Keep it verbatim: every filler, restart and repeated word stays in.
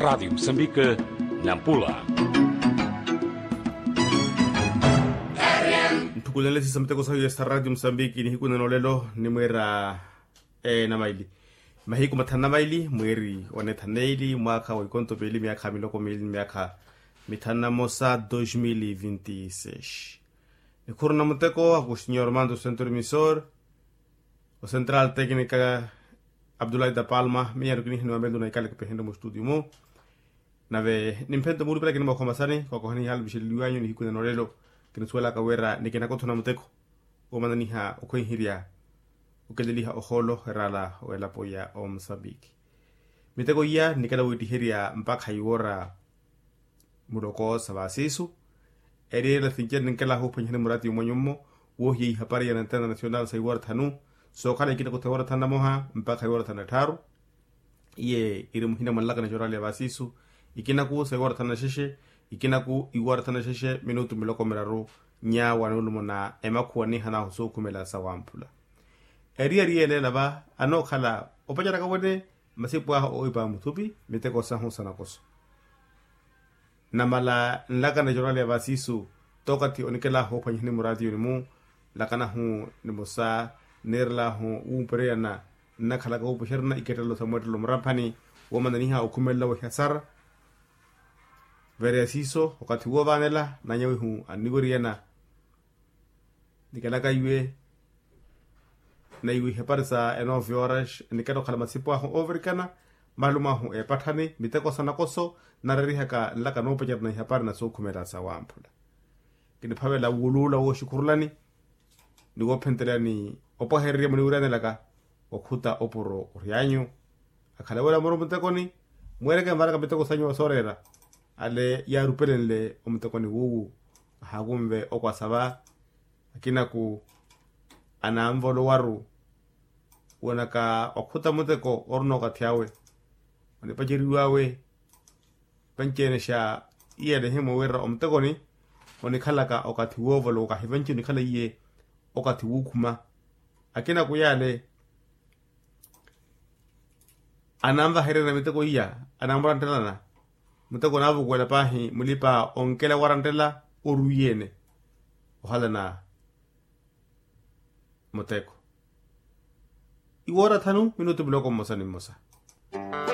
Rádio Moçambique, Nampula. Nthukulenle sisa miteko sahu yesa Rádio Moçambique nihiku nano lelo nimwira enamaili mahiku mathanu na maili mweri wa nethi na neili mwaakha wa ikonto piili myaakha miloko miili myaakha mithanu na mosa dois mil e vinte e seis. Nikhuru na muteko aku senhor mando centro emissor o central técnica abdulai da palma miyaru kinihi ni wamelu na ikale kipehenre mu studio mu. Nave nimphento muulupelaka ni mwaakho masani kwakohani ihaala vixeleliwanyu nihiku nano lelo. Kinisuwelaka wira nikinakuthuna muteko womananiha okhwenherya okeleliha ohoolo eraala w'elapo ya omusambiki. Miteko iya nikala wiittiherya mpakha iwoora muloko sa vasisu. Eriyerela sincerni nkela huphwanyihani murati yumwanyu mmo woohiya ihapari ya nantena national sa iwoora thanu sookhala ikinaku tha iwoora thanu na moha mpakha iwoora thanu na tthaaru. Iye iri muhina mwa nlakano jorali ya vasisu ikinaku sa iwoora thanu na xexe ikinaku iwoora thanu na xexe minutu miloko miraru. Nyawa nuulumo na emakhuwa nihanaahu sookhumela sa wamphula. Eriyari yeeleela va anookhala opaceraka wene masipu ahu oohipa muthupi miteko sahu sa nakoso. Namala nlakano jorali ya vasisu tookathi onikelahu ophwanyihani muraatiyoni-mu. Nlakanahu nimosa niirelahu wuupereyana nnakhalaka wuupuxerana ikettelo sa mweettelo muramphani woomananiha okhumelela wehasara. Vereya siiso okathi woovaanela nanyawihu anniweriyana nikalaka iwe na iwe ihapari sa enove horas niketta okhala masipu ahu oovirikana malumo ahu eepatthani miteko sa nakoso narerihaka nlaka noopacerana ihapari na sookhumela sa wamphula. Kiniphavela wuuluula wooxikhurulani ni woophentelani opwahererya muniwiraanelaka okhuta opuro oryanyu. Akhala wira muro mutekoni mweereke mvaraka miteko sanyu wa sooreera ale yaarupelenle omutekoni wuuwu. Ahaakunve okwasa va akinaku ananvolowaru woonaka okhuta muteko orina okathi awe onipaceriw'awe. Panci-ene xa iyelehe mwiwirira omutekoni onikhalaka okathi woovolowa okahi panci onikhala iye okathi wuukhuma. Akinaku yaale ananvahererya miteko iya anamuranttelana muteko onaavukuwela paahi mulipa onkela warantela orwiiyene ohalana muteko. Iwoora thanu minutu miloko mmosa ni mmosa.